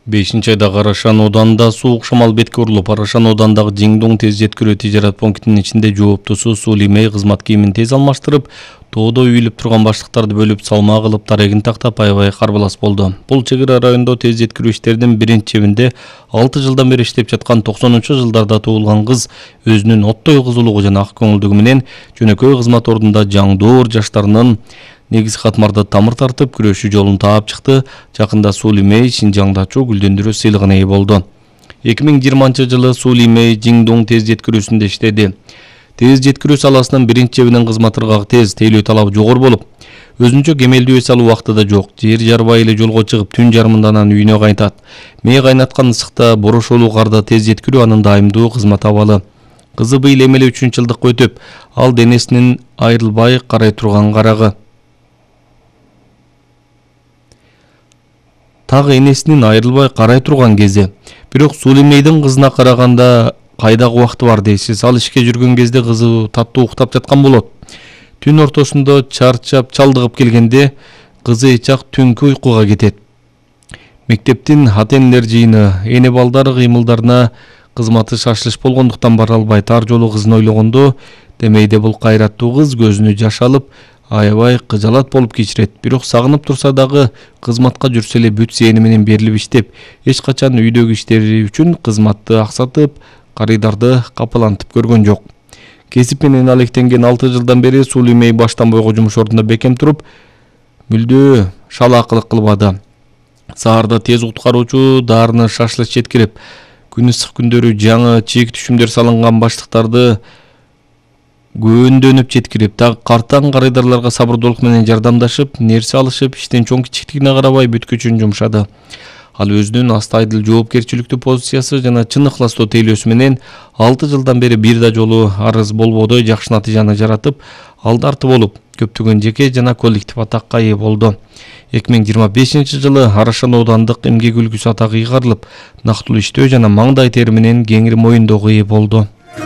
5-айда Карашан оданында суук шамал бетке урулуп, Карашан одандагы Жиңдуң тез жеткирүү тижарат пунктунун ичинде жооптусу Сули Мэй кызмат кийимин тез алмаштырып, тоодо үйүлүп турган баштыктарды бөлүп салмак кылып дарегин тактап аябай карбалас болду. Бул чек ара райондо тез жеткирүү иштеринин биринчи чебинде 6 жылдан бери иштеп жаткан 90-жылдарда туулган кыз өзүнүн оттой кызулугу жана ак көңүлдүгү менен жөнөкөй кызмат ордунда жаңдоор жаштарынын негизги катмарда тамыр тартып күрөшүү жолун таап чыкты. Жакында Сули Мэй Шинжаңдачу гүлдөндүрүү сыйлыгына ээ болду. 2020-жылы Сули Мэй Жиңдуң тез жеткирүүсүндө иштеди. Тез жеткирүү саласынын биринчи чебинин кызматырга тез тейлөө талабы жогору болуп, өзүнчө кемелдүү эс алуу убакты да жок. Жер жарбай эле жолго чыгып, түн жарымында анан үйүнө кайтат. Мэй кайнаткан ысыкта, борошолуу карда тез жеткирүү анын дайымдуу кызмат абалы. Кызы быйыл эмеле 3-жылдыкка өтүп, ал денесинин айрылбай карай турган карагы. Тагы энесинин айрылбай карай турган кези. Бирок Сули Мэйдин кызына караганда кайдагы убакты бар дейсиз. Ал ишке жүргөн кезде кызы таттуу уктап жаткан болот. Түн ортосунда чарчап, чалдыгып келгенде кызы эчак түнкү уйкуга кетет. Мектептин ата-энелер жыйыны, эне балдар кыймылдарына кызматы шашылыш болгондуктан бара албай тар жолу кызын ойлогондо, демейде бул кайраттуу кыз көзүнө жаш алып, аябай кыжалат болуп кечирет. Бирок сагынып турса дагы кызматка жүрсө эле бүт сээни менен берилип иштеп, эч качан үйдөгү иштери үчүн кызматты аксатып, карыдарды капалантып көргөн жок. Кесип менен алектенген 6 жылдан бери Сули Мэй баштан бойго жумуш ордунда бекем туруп, мүлдө шалаакылык кылбады. Саарда тез куткаруучу даарыны шашылыш жеткирип, күн ысык күндөрү жаңы чийик түшүмдөр салынган баштыктарды көндөнүп жеткирип, так картаң карыдарларга сабырдуулук менен жардамдашып, нерсе алышып, иштин чоң кичиктигине карабай бүт күчүн жумшады. Ал өзүнүн астайдыл жоопкерчиликтүү позициясы жана чын ыхластуу тейлөөсү менен 6 жылдан бери бир да жолу арыз болбодой жакшы натыйжаны жаратып, алдарты болуп, көптөгөн жеке жана коллектив атакка ээ болду. 2025-жылы Карашан оодандык эмгек үлгүсү атагы ыйгарылып, нактылуу иштөө жана маңдай тери менен кеңири моюндоого ээ болду.